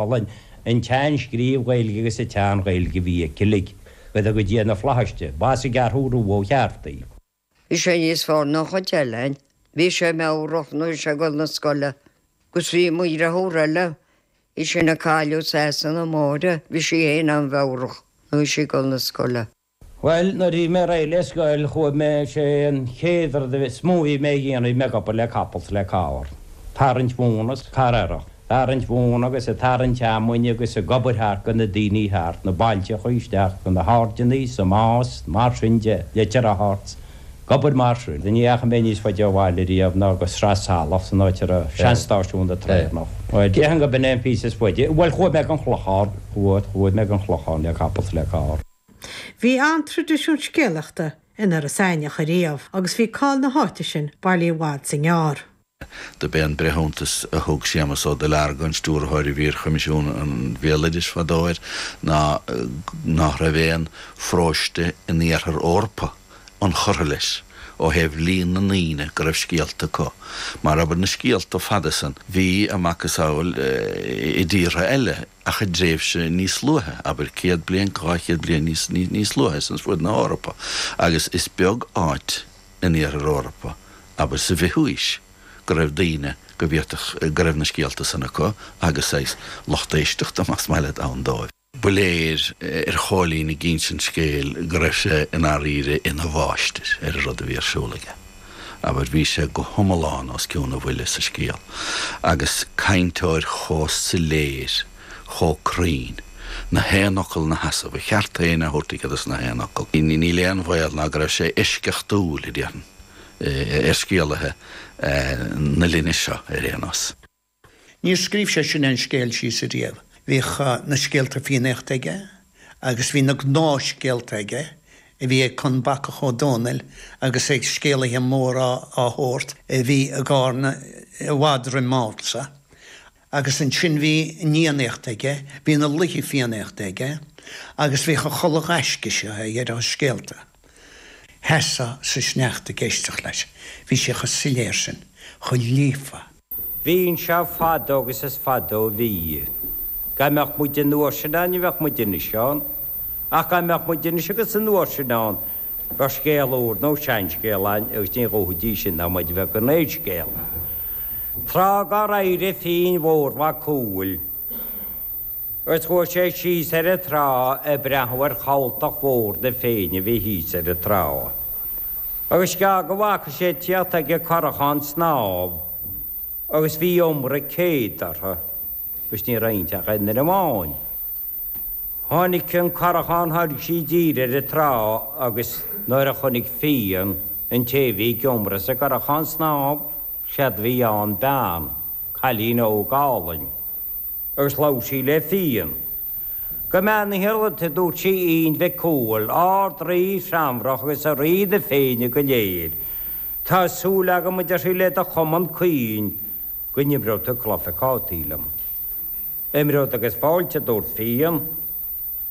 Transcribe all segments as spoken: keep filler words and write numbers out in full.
An an tsean-scríobh Ghaeilge agus an tsean-Ghaeilge a bhí aici uilig, go dtuga Dia na flaithis di, b'as an gCeathrú Rua ó cheart í. Bhí sé níos fearr ná an chuid eile againn. Bhí sé meabhrach nuair a bhí sé ag dul na scoile. Agus bhí mo dheartháir eile, í sin a cailleadh Sasana Máire, bhí sí féin an-mheabhrach nuair a bhí sí ag dul na scoile. Bhuel, nuair a bhí mé réidh le scoil chuaigh mé, sé an chéad rud is mó a bhí mé a dhéanamh, bhí mé ag obair le capall 's le carr, tarraingt mhóna 's carr earrach, tarraingt mhóna agus ag tarraingt fheamainne agus ag obair thart go na daoine thart, na bailteachaí isteach go na hAirdeannaí, sa Más, mar sin de, Leitir Ard, ag obair mar sin. Ní dheachaigh mé níos faide ó bhaile riamh ná go Sraith Salach san áit a raibh seanstáisiún na traenach. Bhuel, déarfainn go b'in é an píosa is faide. Bhuel, chuaigh mé go an Chlochán, chuaigh, chuaigh mé go an Chlochán le capall 's le carr. Bhí an-traidisiún scéalaíochta in Iorras Aithneach ariamh agus bhí cáil na háite sin bailí i bhfad 's i ngearr. Do b'é an breithiúntas a thug Séamus Ó Duilearga, an stiúrthóir a bhí ar Choimisiún an Bhéaloidis fadó air, ná nach raibh aon pharóiste in iarthar Eorpa inchurtha leis ó thaobh líon na ndaoine go raibh scéalta acu. Mar abair na scéalta fada san, bhí a macasamhail i dtíortha eile ach i dtréimhse níos luaithe, abair céad bliain, dhá chéad bliain níos níos luaithe san fud na hEorpa, agus is beag áit in iarthar Eorpa, abair sa bhfichiú haois, go raibh daoine go bhféadfadh go raibh na scéalta san acu agus saghas lucht éisteachta más maith leat ann dóibh. Ba léir ar Chóilín ag insint scéil go raibh sé i ndáiríre ina mháistir ar an rud a bhí ar siúl aige. Abair, bhí sé go hiomlán os cionn a bhuille sa scéal, agus cainteoir chomh soiléir, chomh cruinn, na haon fhocal 'na sheasamh, a cheart féin á thabhairt aige dos na haon fhocal. Níl aon bhaol ná go raibh sé eisceachtúil, a déarfainn, ar scéalaithe na linne seo ar aon nós. Níor scríobh sé sin aon scéal síos ariamh. Bhíodh na scéalta Fiannaíochta aige agus bhí na gnáthscéalta aige a bhí ag Con Bacach Ó Dónaill agus ag scéalaithe móra á thabhairt a bhí i gCarna i bhfad roim m'amsa. Agus ansin bhí an Fhiannaíocht aige, bhí na laoithe Fiannaíochta aige agus bhíodh an chulaith ghaisce seo aige ar a scéalta. Sheasfá sa sneachta ag éisteacht leis. Bhí sé chomh soiléir sin, chomh líofa. Bhí anseo fadó agus is fadó a bhí. Dá mbeadh muid an uair sin ann ní bheadh muid anois ann. Ach dá mbeadh muid anois agus an uair sin ann, bheadh scéal úr nó seanscéal ann agus ní ghabhfaidís sin ná muid a bheith gan aon scéal. Tráth dá raibh oidhre Finn Mhór Mhac Cumhaill, agus chuaigh sé síos ar an trá ag breathnú ar chabhaltach mhór na Féinne a bhí thíos ar an trá. Agus sceá go bhfaca sé ag tíocht aige curachán snámh agus bhí iomra céad orthu agus ní raibh inti ach aon duine amháin. Tháinig an curachán, tháinig sí i dtír ar an trá agus nuair a chonaic Fionn an té a bhí ag iomradh sa gcurachán snámh, séard a bhí ann bean, cailín óg álainn. Agus labhair sí le Fionn. Go mbeannaíthear duit, a dúirt sí, a Fhinn Mhic Cumhaill, Ard-Rí Threamhrach agus a Rí na Féinne go léir. Tá súil agam, a deir sí, le do chumann caoin, go n-imreoidh tú cluiche cártaí liom. Imreod agus fáilte, a dúirt Fionn,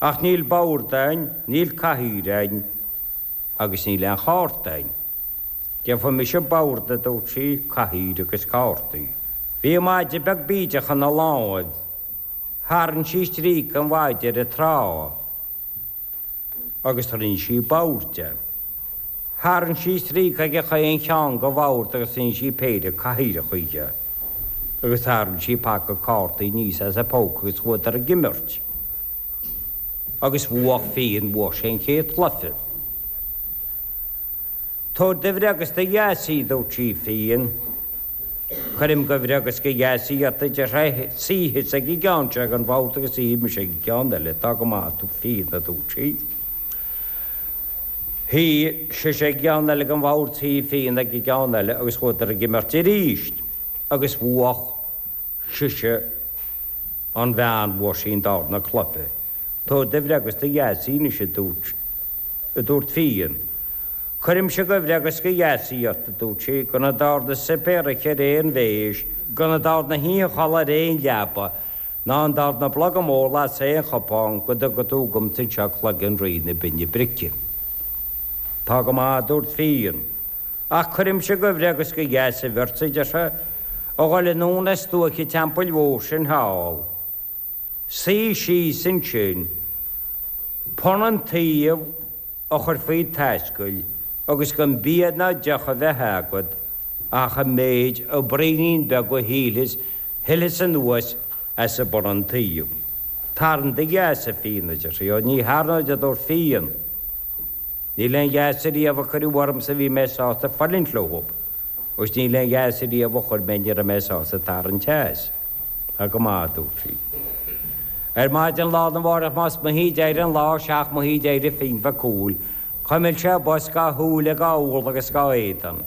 ach níl bord a'inn, níl cathaoir a'inn agus níl aon chárta a'inn. Gheobhaidh mise bord, a dúirt sí, cathaoir agus cártaí. Bhí maide beag bídeach ina láimh. Tharraing sí stríoca an mhaide ar an trá agus rinne sí bord de. Tharraing sí stríoca ag chaon cheann de bhord agus rinne sí péire cathaoireacha dhe. Agus tharraing sí paca cártaí aníos as a póca agus chuadar ag imirt. Agus bhuach Fionn, bhuach sé an chéad chluiche. Tabhair do bhreá agus do dheas í, a dúirt sí, Fionn. Cuirim go bhreá agus go dheas í ort, a deir sé, suigh thusa ag an gceann seo den bhord agus suífidh mise ag an gceann eile. Tá go maith, a Fhionn, a dúirt sí. Shuigh sise ag an gceann eile den bhord, shuigh Fionn ag an gceann eile agus chuadar ag imirt arís agus bhuach sise an bhean, bhuaigh sí an darna cluiche. Tabhair do bhreá agus do dheas í anois, a dúirt, a dúirt Fionn. Cuirimse go bhreá agus go dheas í ort, a dúirt sí, go na dtarna suipéar a ithe ar aon mhéis, go na dtarna hoíche a chodladh ar aon leaba, ná an dtarna blogham a ól as aon chupán, go dtuga tú dhomsa anseo cloigeann Rí na Binne Brice. Tá go maith, a dúirt Fionn. Ach cuirimse go bhreá agus go dheas sibh bheirt, a deir sé, a dhul anonn as stuaic an teampaill mhóir sin thall. Suigh síos ansin, punann tuí a chur faoi t'ascaill agus gan bia ná deoch a bheith agat ach an méid an braoinín beag a shilfeas shilfeas anuas as an bpunann tuí. Tarraing do gheasa, a Fhinn, a deir sí. Ó, ní tharraingeod, a dúirt Fionn. Níl aon gheasa riamh a cuireadh ormsa a bhí mé sásta fulaingt leo, agus níl aon gheasa riamh a chuir mé ní raibh mé sásta tarraingt as. Tá go maith, a dúirt sí. Ar maidin lá arna mhárach más maith d'éirigh an lá seacht maith d'éirigh Fionn Mhac Cumhaill, chuimil sé a bos dhá shúile dhá úll agus dhá éadan.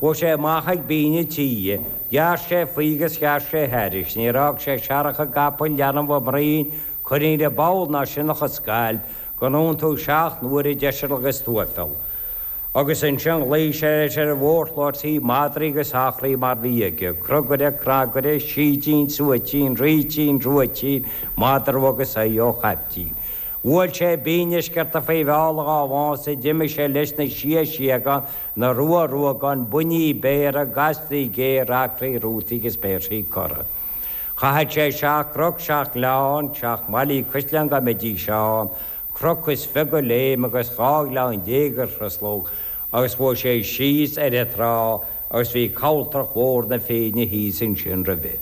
Chuaigh sé amach ag binn an tí, ghearr sé faoi agus ghearr sé thairis, níor fhág sé searrach i gcapall, leanbh i mbroinn, cuirín i bpoll ná sionnach i scailp, gan iontú seacht n-uaire deiseal agus tuaifeal. Agus ansin ghlaoigh sé leis ar an mhórshlua tí madraí agus eachraí mar bhí aige, crugaire, cnagaire, sídín, suaitín, rítín, ruaitín, madra agus aghaidh ó chaiptín. Bhuail sé binn a sciorta faoi bheal a dhá mhása, d'imigh sé leis na sia síogán, na rua ruagán, buinní béara, gastaí géara, acraí rútaí agus péirsí corra. Chaithfeadh sé seacht gcnoc, seacht ngleann, seacht mbaile caisleán dá mbeidís ann, cnoc is fiche go léim agus dhá ghleann déag a thruslódh agus chuaigh sé síos ar an trá agus bhí cabhaltrach mhór na Féinne thíos ansin roimhe.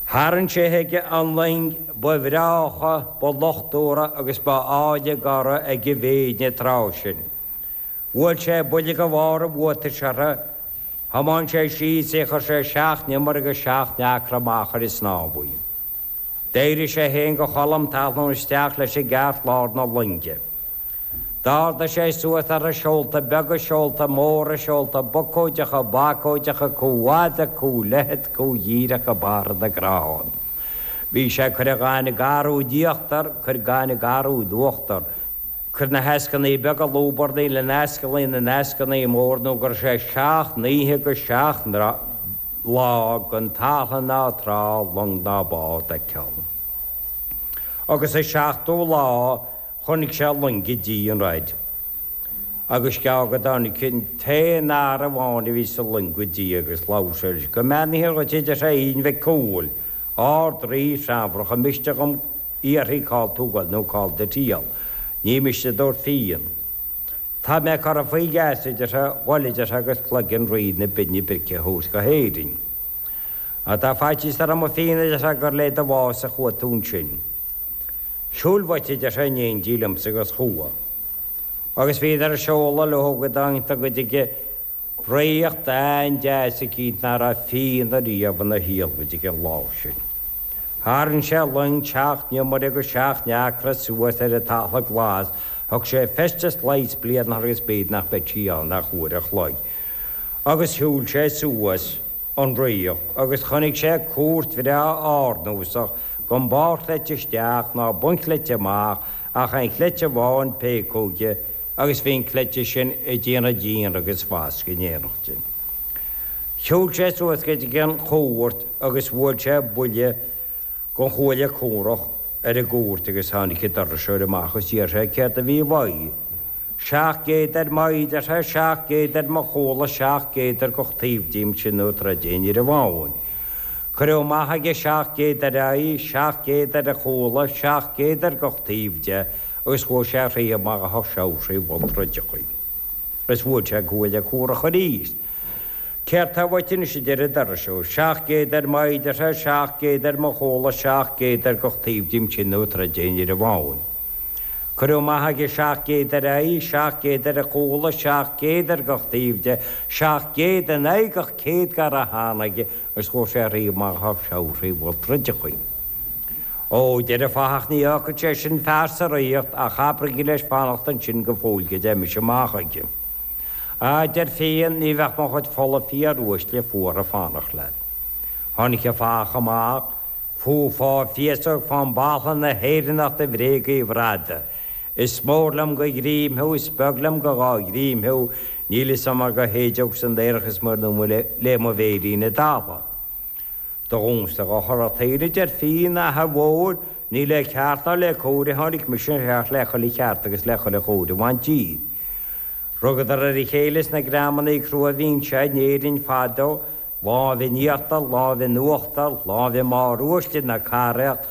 Tharraing sé chuige an loing ba bhreácha, ba luchtmhara agus ba áille dá raibh ag an bhFéinn an tráth sin. Bhuail sé buille de bharr a bhuatais uirthi, thiomáin sé síos í, chuir sé seacht n-iomaire agus seacht n-acra amach ar an snámh í. D'éirigh sé féin de cholm talún isteach leis i gceartlár na loinge. D'ardaigh sé suas uirthi seolta beaga, seolta móra, seolta bocóideacha, bacóideacha, cú fhada, cú leithead, cú dhíreach go barra na gcrann. Bhí sé ag cur an ghainimh garúid íochtar, cur gaineamh garúid uachtar, cur na heascannaí beaga lúbarnaí le n-ascaillí na n-eascannaí mór nó go raibh sé seacht n-oíche agus seacht lá gan talamh ná trá, long ná bád a fheiceáil. Agus an seachtú lá Chonaic sé loing i dtír an raid agus geall go dtáinig an t-aon fhear amháin a bhí sa loing go dtí agus labhair sé leis. Go mbeannaithe dhuit a deir sé, a Fhinn Mhic Cumhaill, Ard-Rí Threamhrach, an miste dhom fhiafraí cá'il tú ag goil nó cá'il do thriall. Ní miste a dúirt Fionn. Tá mé curtha faoi gheasa, a deir sé, dhul a deir sé, agus cloigeann Rí na Binne Brice a thabhairt go hÉirinn. Á tá faitíos orm a Fhinn, a deir sé, gur le do bhás a chuaigh tú ansin. Siúil uait, a deir sé, in éindí liomsa agus chuaigh. Agus bhíodar ag seoladh leo go dtángthar go dtí ríocht an-deas eicínt ná raibh Fionn ariamh ina shaol go dtí an lá sin. Tharraing sé an loing seacht n-iomaire agus seacht n-acra suas ar an talamh glas, thug sé feisteas leighis bliana agus b'fhéidir nach mbeadh sí ann ach uair a chloig. Agus shiúil sé suas an ríocht agus chonaic sé cúirt bhreá ardnósach gan barrchleite isteach ná bunchleite amach ach aon chleite amháin péacóige agus bhí an cleite sin ag déanamh díon agus fasc in éineacht. Shiúil sé suas go dtí an chúirt agus bhuail sé buille den chuaille cumhrach ar an gcúirt agus tháinig an doirseoir amach agus d'iarr sé céard a bhí uaidh. Seacht gcéad ar m'aghaidh, a deir sé, seacht gcéad ar mo chúla, seacht gcéad ar gach taobh díom, sin nó troid é ní raibh ann. Cuireadh amach aige seacht gcéad ar a aghaidh, seacht gcéad ar a chúla, seacht gcéad ar gach taobh de agus chuaigh sé thrí amach a seabhraí bhun troideachaí. Agus bhuail sé an cuaille cumhrach arís. Céard tá uait anois, a deir an doirseoir. Seacht gcéad ar m'aghaidh, a deir sé, seacht gcéad ar mo chúla, seacht gcéad ar gach taobh díom, sin nó troid é ní raibh ann. Cuireadh amach aige seacht gcéad ar a aghaidh, seacht gcéad ar a chúla, seacht gcéad ar gach taobh de, seacht gcéad in aghaidh gach céad dá raibh ann aige agus chuaigh sé thrí amach a seabhraí bhun troideachaí. Ó, deir an fathach, ní fhágfaidh sé sin fear sa ríocht ach abraigí leis fanacht ansin go fóill go dté mise amach chuige. Á, deir Fionn, ní bheadh mo chuid fola fíoruaisle fuar ag fanacht leat. Tháinig an fathach amach, Fú fá féasóg fán bpatlann a hÉireannach de bhréag Uí Bhráda. Is mór liom go dhream thú, is beag liom go dhá dhream thú, níl fhios a'm mar go shéideog san aerach is muir nó le mo mhéirín i dtalamh. Do dhúnsa dho thoradh taoille, a deir Fionn, a athair mhóir, ní le ceart ná le cóir a tháinig mise ach le chuile cheart agus le chuile chóir a bhaint díot. Rugadar ar a chéile sna greamannaí crua a bhí anseo in Éirinn fadó, lámh in íochtar, lámh in uachtar, lámh i mbarr uaisle na cathrach,